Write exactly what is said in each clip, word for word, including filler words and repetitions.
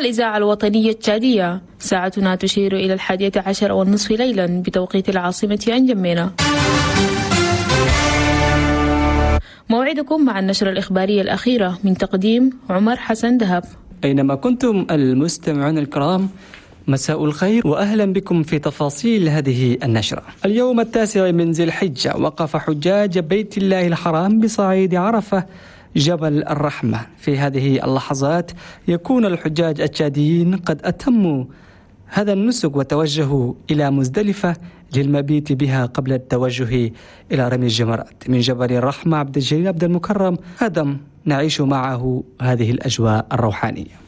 الإذاعة الوطنية التشادية. ساعتنا تشير إلى الحادية عشر والنصف ليلا بتوقيت العاصمة أنجمينا. موعدكم مع النشرة الإخبارية الأخيرة من تقديم عمر حسن دهب. أينما كنتم المستمعون الكرام، مساء الخير وأهلا بكم في تفاصيل هذه النشرة. اليوم التاسع من ذي الحجة وقف حجاج بيت الله الحرام بصعيد عرفة جبل الرحمة. في هذه اللحظات يكون الحجاج التشاديين قد أتموا هذا النسك وتوجهوا إلى مزدلفة للمبيت بها قبل التوجه إلى رمي الجمرات. من جبل الرحمة عبد الجليل عبد المكرم آدم، نعيش معه هذه الأجواء الروحانية.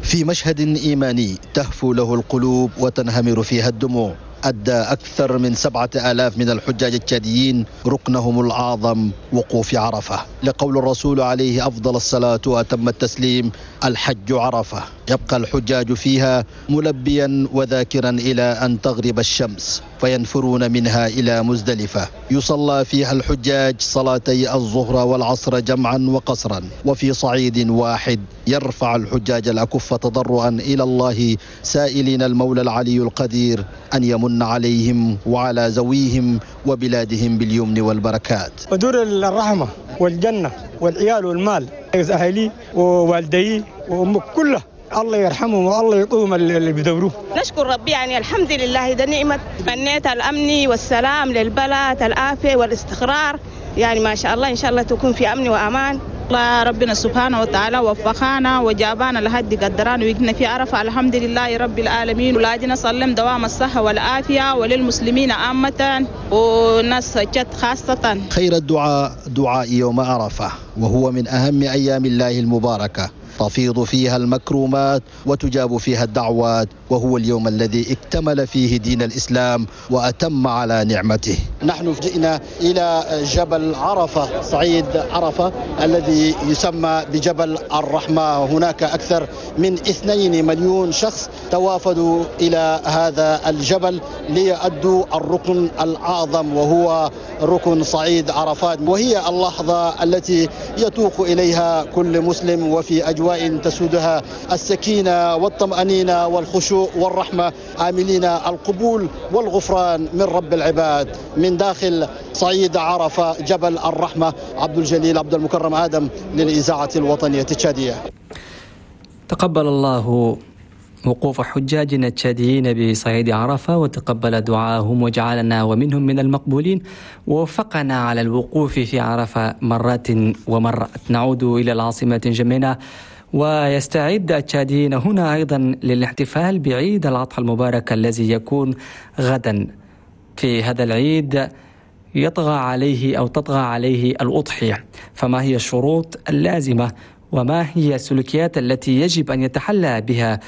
في مشهد إيماني تهفو له القلوب وتنهمر فيها الدموع، أدى أكثر من سبعة آلاف من الحجاج التشاديين ركنهم الأعظم وقوف عرفة، لقول الرسول عليه أفضل الصلاة وأتم التسليم: الحج عرفة. يبقى الحجاج فيها ملبيا وذاكرا إلى أن تغرب الشمس، فينفرون منها إلى مزدلفة يصلى فيها الحجاج صلاتي الظهر والعصر جمعا وقصرا. وفي صعيد واحد يرفع الحجاج الأكف تضرعا إلى الله، سائلين المولى العلي القدير أن يمن عليهم وعلى ذويهم وبلادهم باليمن والبركات. ودور الرحمة والجنة والعيال والمال، أهلي ووالدي وأمك كلها الله يرحمهم والله يقوم اللي بدوروه. نشكر ربي، يعني الحمد لله، ده نعمة. تمنيت الأمن والسلام للبلد، العافية والاستقرار، يعني ما شاء الله إن شاء الله تكون في أمن وأمان. الله ربنا سبحانه وتعالى وفقنا وجابانا لحد قدران وقنا في عرفة، الحمد لله رب العالمين. ولادنا سلم دوام الصحة والعافية وللمسلمين عامة والناس جد خاصة. خير الدعاء دعاء يوم عرفة، وهو من أهم أيام الله المباركة، تفيض فيها المكرمات وتجاب فيها الدعوات، وهو اليوم الذي اكتمل فيه دين الإسلام وأتم على نعمته. نحن جئنا إلى جبل عرفة، صعيد عرفة الذي يسمى بجبل الرحمة. هناك أكثر من اثنين مليون شخص توافدوا إلى هذا الجبل ليؤدوا الركن الأعظم، وهو ركن صعيد عرفات، وهي اللحظة التي يتوق إليها كل مسلم، وفي أجواء تسودها السكينة والطمأنينة والخشوع والرحمة، آملين القبول والغفران من رب العباد. من داخل صعيد عرفة جبل الرحمة، عبد الجليل عبد المكرم آدم للإذاعة الوطنية التشادية. تقبل الله وقوف حجاجنا التشاديين بصعيد عرفة، وتقبل دعاهم وجعلنا ومنهم من المقبولين، ووفقنا على الوقوف في عرفة مرات ومرات. نعود إلى العاصمة جمينة، ويستعد التشاديين هنا أيضا للاحتفال بعيد الأضحى المبارك الذي يكون غدا. في هذا العيد يطغى عليه أو تطغى عليه الأضحية، فما هي الشروط اللازمة وما هي السلوكيات التي يجب أن يتحلى بها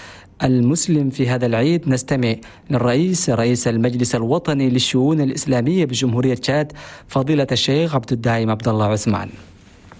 المسلم في هذا العيد؟ نستمع للرئيس رئيس المجلس الوطني للشؤون الإسلامية بجمهورية تشاد فضيلة الشيخ عبد الدائم عبد الله عثمان.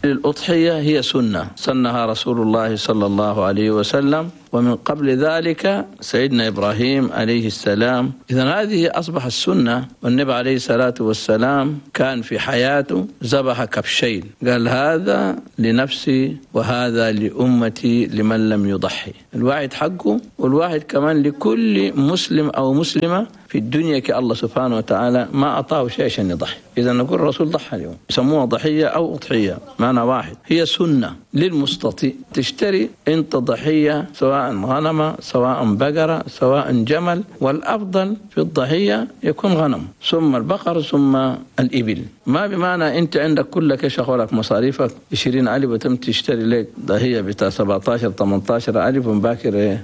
الأضحية هي سنة سنها رسول الله صلى الله عليه وسلم، ومن قبل ذلك سيدنا إبراهيم عليه السلام. إذن هذه أصبح السنة. والنبي عليه الصلاة والسلام كان في حياته ذبح كبشين، قال هذا لنفسي وهذا لأمتي لمن لم يضحي. الواحد حقه، والواحد كمان لكل مسلم أو مسلمة في الدنيا كالله سبحانه وتعالى ما أعطاه شيء عشان يضحي. إذا نقول الرسول ضحى اليوم، يسموها ضحية أو أضحية، معنى واحد، هي سنة للمستطيع. تشتري أنت ضحية سواء غنمة سواء بقرة سواء جمل، والأفضل في الضحية يكون غنم ثم البقر ثم الإبل. ما بمعنى أنت عندك كلك شغلك مصاريفك عشرين ألف وتم تشتري لك ضحية بتاع سبعة عشر ثمانية عشر ألف ومباكر